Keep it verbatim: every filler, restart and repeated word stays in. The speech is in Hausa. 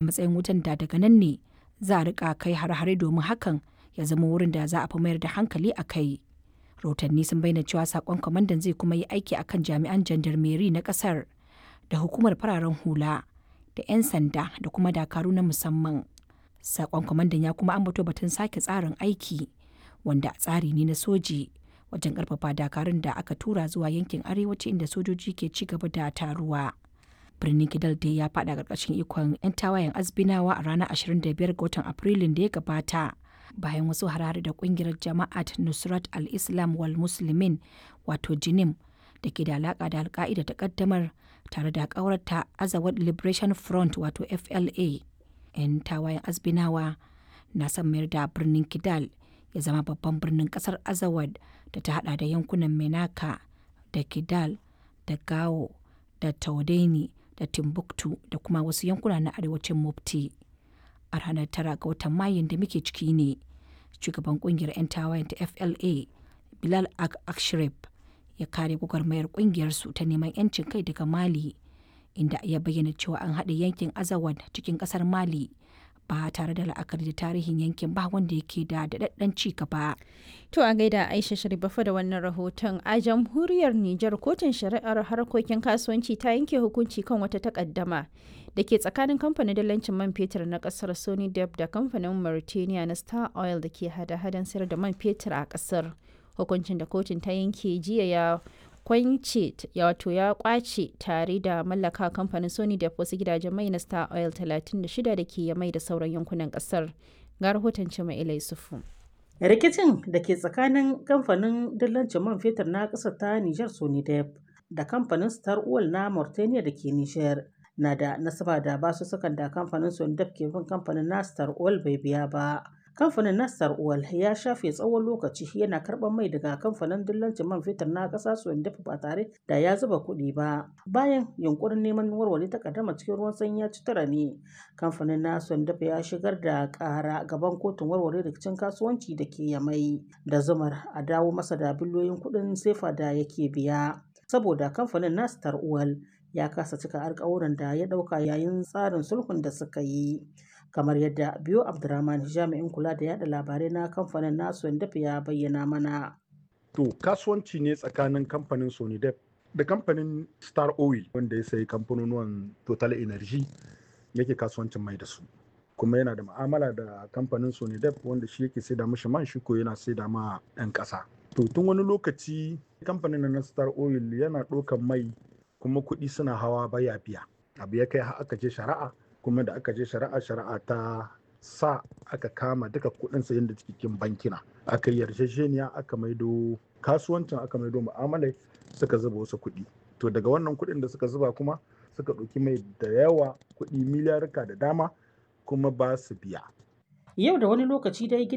Matsayin wajen da daga nan ne za a rika kai hare-hare domin hakan ya zama wurin da za a fi mayar da hankali a kai. Rahotanni sun bayyana cewa sakon kwamandan zai kuma yi aiki a kan jami'an jandarmeri na kasar da hukumar fararen hula da 'yan sanda da kuma dakaru na musamman. Sakon kwamandan ya kuma ambato batun sake tsarin aiki, wanda tsari ne na soji wajen karfafa dakarun da aka tura zuwa yankin arewaci inda sojoji ke ci gaba da taruwa. Birnin Kidal dai ya fada karkashin ikon 'yan tawayen Azbinawa a ranar ashirin da biyar ga watan Afrilun da ya gabata, bayan wasu harare da kungiyar Jama'at Nusrat al-Islam wal Muslimin, wato Jinim, da ke da alaka da Alka'ida ta kaddamar tare da kawarta Azawad Liberation Front, wato F L A. 'Yan tawayen Azbinawa na son mayar da birnin Kidal ya zama babban birnin kasar Azawad da ta hada da yankunan Menaka da Kidal da Gao da Taudeni da Timbuktu da kuma wasu yankuna na arewacin Mopti. A ranar tara ga watan Mayun da muke ciki ne, shugaban kungiyar 'yan tawayen ta F L A, Bilal Ag Akshrib, ya kare gwagwarmayar kungiyarsu ta neman 'yancin kai daga Mali, inda ya bayyana cewa an haɗe yankin Azawad cikin ƙasar Mali ba tare da la'akari da tarihin yankin ba wanda yake da daɗaɗɗen ci gaba. To, a gaida Aisha Sharifafa da wannan rahoton. A jamhuriyar Nijar, kotun shari'ar harkokin kasuwanci ta yanke hukunci kan wata takaddama da ke tsakanin kamfanin dalancin man fetur na kasar Sony Dep da kamfanin Mauritania na Star Oil da ke hada-hadan sayar da man fetur a kasar. Hukuncin da kotun ta yanke jiya ya kwance, wato ya kwace tare da mallaka kamfanin Sony da wasu gidajen mai na Star Oil talatin da shida da ke mai da sauran yankunan kasar. Ga rahoton Cima Ilai Sufu. Rikicin da ke tsakanin kamfanin dillancin man fetur na ƙasar ta Nijar Sonidep da kamfanin Star Oil na Mauritania da ke Nijar na da nasaba da basussukan da kamfanin Sonidep ke bin kamfanin na Star Oil bai biya ba. Kamfanin na Star Oil ya shafe tsawon lokaci yana karɓar mai daga kamfanin dillancin man fetur na ƙasa Sonidep ba tare da ya zuba kuɗi ba. Bayan yunkurin neman warware takaddama cikin ruwan sanyi ya ci tura ne, kamfanin na Sonidep ya shigar da ƙara gaban kotun warware rikicin kasuwanci da ke Yamai da zumar a dawo masa da biliyoyin kuɗin sefa da yake biya. Saboda kamfanin na Star Oil ya kasa cika alkawuran da ya ɗauka yayin tsarin sulhun da suka yi. Kamar yadda Biyo Abdurrahman, jami'in kula da yada labarai na kamfanin nasu, ya bayyana mana. To, kasuwanci ne tsakanin kamfanin Sonidep da kamfanin Star Oil, wanda ya sayi kamfanonuwan Total Energy yake kasuwancin mai da su. Kuma yana da ma'amala da kamfanin Sonidep, wanda shi yake saida mishi man, shi ko yana saida ma 'yan ƙasa. To, tun wani lokaci kamfanin na Star Oil yana ɗaukan mai kuma kuɗi suna hawa, baya biya. Abu ya kai har aka je shari'a, kuma da aka je shari'a, shari'a ta sa aka kama duka kuɗin sayan da cikin bankina. Aka yi yarjejeniya, aka maido kasuwancin, aka maido mu'amalai, suka zuba wasu kuɗi. To, daga wannan kuɗin da suka zuba kuma suka ɗauki mai da yawa, kuɗi miliyarka da dama, kuma ba su biya. Yau da wani lokaci dai.